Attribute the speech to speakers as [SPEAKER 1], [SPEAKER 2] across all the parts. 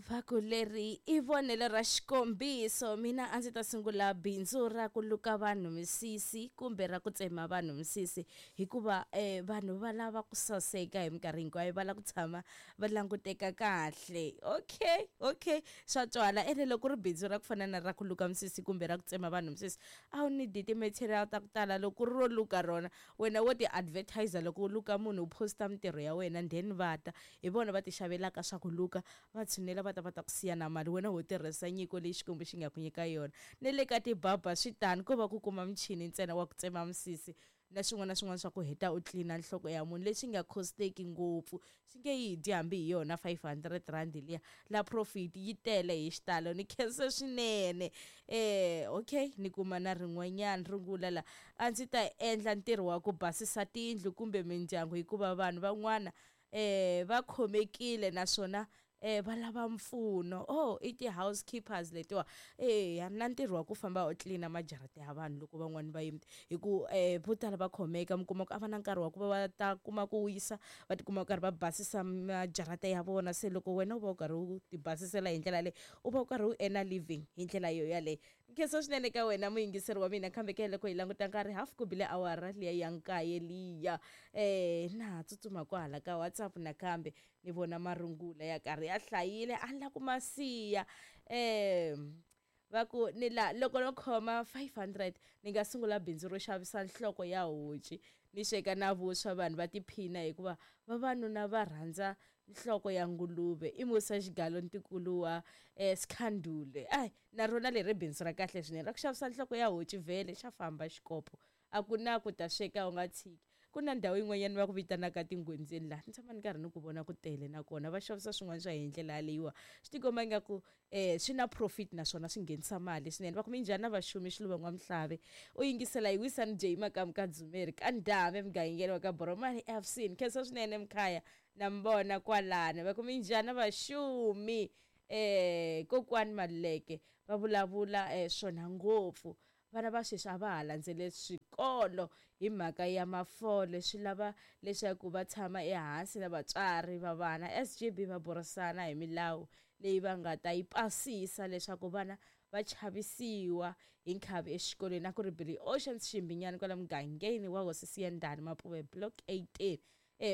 [SPEAKER 1] Va ku leri i vonelo ra xikombiso. Mina a ndzi ta sungula bindzu ra ku luka vanhu misisi kumbe ra ku tsema vanhu misisi, hikuva vanhu va lava ku saseka hi minkarhi hinkwayo, va lava ku tshama va languteka kahle. Okay, okay, swa twala. Ene loko ku ri bindzu ra ku fana na ra ku luka misisi kumbe ra ku tsema vanhu misisi, a wu need ti-material ta ku tala. Loko ku ri ro luka rona, wena wo ti-advertiser loko u luka munhu, u posta mintirho ya wena, then va ta hi vona va ti xavelaka swa ku luka, va tshunela va ta va ta ku siya na mali, wena ho tirhisa nyiko leyi Xikwembu xi nga ku nyika yona. Ne le ka tibaba swi tano, ko va ku kuma michini ntsena wa ku tsema misisi na swin'wana na swin'wana swa ku heta u tlilina nhloko ya munhu, leswi nga costeki ngopfu, swi nge yi dyi hambi hi yona 500 rand liya. La profit yi tele hi xitalo. Ni khense swinene. Okay, ni kuma na rin'wanyana rungula la. A ndzi ta endla ntirho wa ku basisa tiyindlu kumbe mindyangu, hikuva vanhu van'wana va khomekile naswona va lava mpfuno. Oh, i ti-housekeepers letiwa. Na ntirho wa ku famba u tlilina majarata ya vanhu loko van'wani va yimile, hi ku vo tala va khomeka, mi kuma ku a va na nkarhi wa ku va va ta kuma ku wisa, va tikuma karhi va basisa majarata ya vona. Se loko wena u va u karhi u ti basisela hi ndlela leyi, u va u karhi u earn living hi ndlela yo yaleyo. Nkhensa swinene ka wena muyingiseri wa mina. Kambe ke loko hi languta nkarhi, half ku bile awara liya ya nkaye liya. Na ha tsutsuma kwahala ka WhatsApp nakambe ni vona marungula ya karhi ya hlayile, a ni la ku ma siya. Va ku ni la loko no khoma 500 ni nga sungula bindzu ro xavisa nhloko ya honci, ni sweka na vuswa, vanhu va tiphina, hikuva vavanuna va rhandza nhloko ya nguluve. I Musa Xigalo, ntikulu wa Skhandule. Ai, na rona leri bindzu ra kahle swinene ra ku xavisa nhloko ya honci, vhele xa famba xikopo, a ku na ku ta sweka u nga tshiki. Ku na ndhawu yin'wanyana va ku vitanaka Tinghondzeni, laha ni tshama ni karhi ni ku vona ku tele, nakona va xavisa swin'wana swa hi ndlela yaleyiwa, swi tikomba ingaku swi na profit naswona swi nghenisa mali swinene. Va ku minjhani na vaxumi? Xiluva N'wamhlave u yingisela hi Wisani J Makamu ka Dzumeri ka Ndhame, mugangeni wa ka Boromani FC. Ni khensa swinene mkhaya, na mi vona kwalano. Va ku minjhani na vaxumi? Kokwani Maluleke va vulavula swona ngopfu. Vana va sweswi a va ha landzeleli swikolo hi mhaka ya mafole, swi lava leswaku va tshama ehansi na vatswari va vana, SGB, va burisana hi milawu leyi va nga ta yi pasisa leswaku vana va chavisiwa hi nkhavi exikolweni. A ku ri Billy Oceans Ximbinyani kwala mugangeni wa Hosi Siyandhani, Mapuve Block 18.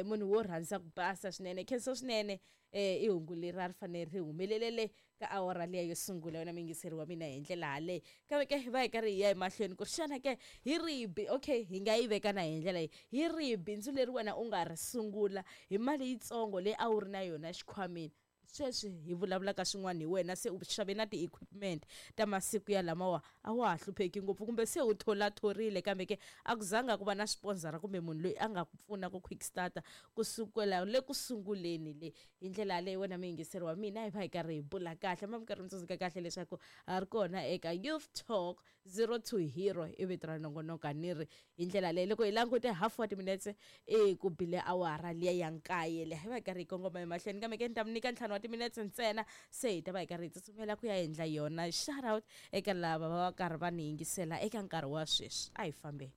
[SPEAKER 1] Munhu wo rhandza ku basa swinene. Khensa swinene. I hungu leri a ri fanele ri humelelele ka awara liya yo sungula, wena muyingiseri wa mina, hi ndlela yaleyo. Kambe ke va hi karhi hi ya emahlweni ku ri xana ke hi rihi, okay, hi nga yi veka na hi ndlela leyi, hi rihi bindzu leri wena u nga ri sungula hi mali yitsongo leyi a wu ri na yona xikhwameni? Sweswi hi vulavulaka swin'wana hi wena, se u xave na ti-equipment ta masiku ya lamawa, a wa ha hlupheki ngopfu, kumbe se u tholathorile, kambe ke a ku zanga ku va na sponsor kumbe munhu loyi a nga ku pfuna ku quick starter kusukela le ku sunguleni le. Hi ndlela yaleyo, wena muyingiseri wa mina, hi va hi karhi hi bula kahle, ma mi karhi mi tsundzuka kahle leswaku ha ri kona eka Youth Talk Zero to Hero, i vito ra nongonoko. Ni ri hi ndlela leyi, loko hi langute half wa timinetse i ku bile awara liya ya nkaye leyi, hi va hi karhi hi kongoma emahlweni, kambe ke ni ta mi nyika 5 wa timinetse ntsena, se hi ta va hi karhi hi tsutsumela ku ya endla yona shout out eka lava va karhi va ni yingisela eka nkarhi wa sweswi. A hi fambeni.